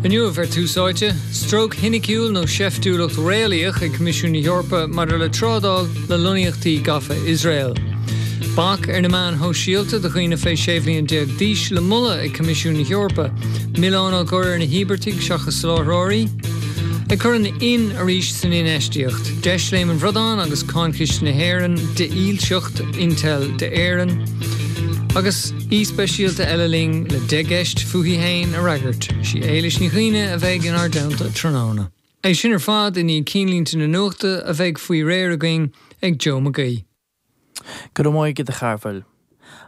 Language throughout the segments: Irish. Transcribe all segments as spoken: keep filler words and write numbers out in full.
Inniu ar Tús Áite, stróc shoiniciúil nó seiftiúlacht réalaíoch ag Coimisiún na hEorpa maidir le trádáil le lonnaíochtaí gafa Iosrael. Bac ar na meáin shóisialta do dhaoine fé sé bhliain déag d'aois le moladh ag Coimisiún na hEorpa, Milleán á chur ar na híobartaigh seachas soláthróirí. Ag cur an in arís san infheistíocht, Deis Léim an Bhradáin agus Cáin Chiste na hÉireann de dhílseacht Intel d'Éirinn. Agus aoi speisialta eile linn le deich gceist fúithi féin a fhreagairt, sí Éilis Ní Chuinn a bheidh inár dteannta tráthnóna. É sin ar fad i ndiaidh ceannlínte na nuachta a bheidh faoi réir againn ag Joe McGee. Go raibh maith agat a Chearbhaill.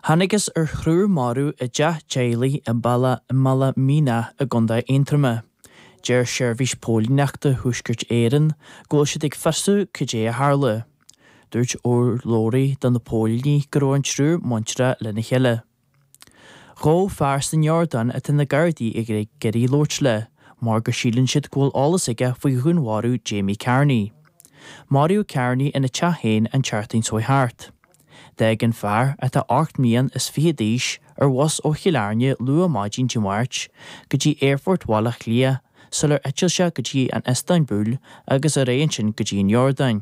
Thángthas ar thriúr marbh i dteach teaghlaigh i mBaile i mBaile Míneach i gContae Aontroma. Deir seirbhís póilíneachta Thuaisceart Éireann go bhfuil siad ag fiosrú cad é a tharla. Dúirt urlabhraí do na póilíní go raibh an triúr muinteartha lena chéile. Dhá fear san Iordáin atá na Gardaí ag iarraidh labhairt le, mar go síleann siad go bhfuil eolas aige faoi dhúnmharú Jamie Carney. Maraíodh Carney ina teach féin an tseachtain seo thart. D'fhág an fear atá ocht mbliana is fiche d'aois ar bhus ó Chill Airne luath maidin Dé Máirt go dtí Aerfort Bhaile Átha Cliath sular eitil sé go dtí an Iostanbúl agus ar aghaidh ansin go dtí an Iordáin.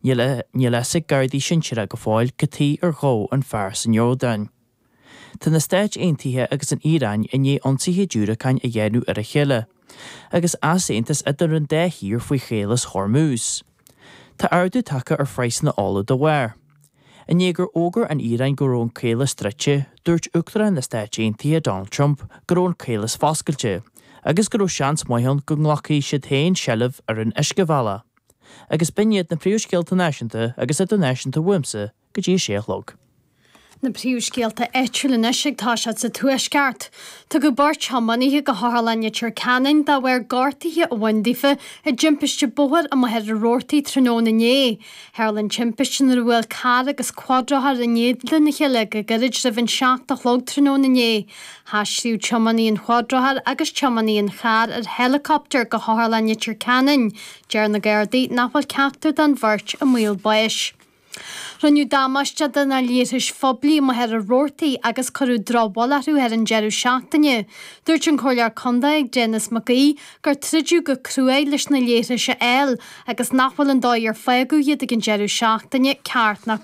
Níl a fhios ag Gardaí sinsearacha go fóill cad chuige ar ghabhadh an fear san Iordáin. Tá na Stáit Aontaithe agus an Iaráin i ndiaidh ionsaithe diúracáin a dhéanamh ar a chéile, agus easaontas idir an dá thír faoi Chaolas Hormuz. Tá ardú tagtha ar phraghsanna ola dá bharr. I ndiaidh gur fhógair an Iaráin go raibh an caolas druidte, dúirt Uachtarán na Stáit Aontaithe Donald Trump go raibh an caolas foscailte, agus go raibh seans maith ann go nglacfaidh siad féin seilbh ar an uiscebhealach. Agus b'in iad na príomhscéalta náisiúnta agus idirnáisiúnta uaimse go dtí a sé a chlog. Na príomhscéalta áitiúla anois ag toiseacht sa Tuaisceart. Tugadh beirt thiománaithe go hOtharlann Leitir Ceanainn de bharr gortuithe a bhain daofa i dtimpiste bóthair amuigh ar an Rabhartaigh tráthnóna inné. Tharla an timpiste nuair a bhuail carr agus cuadrothar in éadan a chéile go gairid roimh an seacht a chlog tráthnóna inné. Haistríodh tiománaí an chuadrothair agus tiománaí an chairr ar helicopter go hOtharlann Leitir Ceanainn. Deir na Gardaí nach bhfuil ceachtar den bheirt i mbaol báis. Rinneadh damáiste do na leithris phoiblí amuigh ar an Rabhartaigh agus cuireadh drochbhail orthu ar an deireadh seachtaine. Dúirt an Comhairleoir Contae Denis McGee gur troideadh go cruaidh leis na leithris a fháil agus nach bhfuil an dóigh ar fágadh iad ag an deireadh seachtaine ceart ná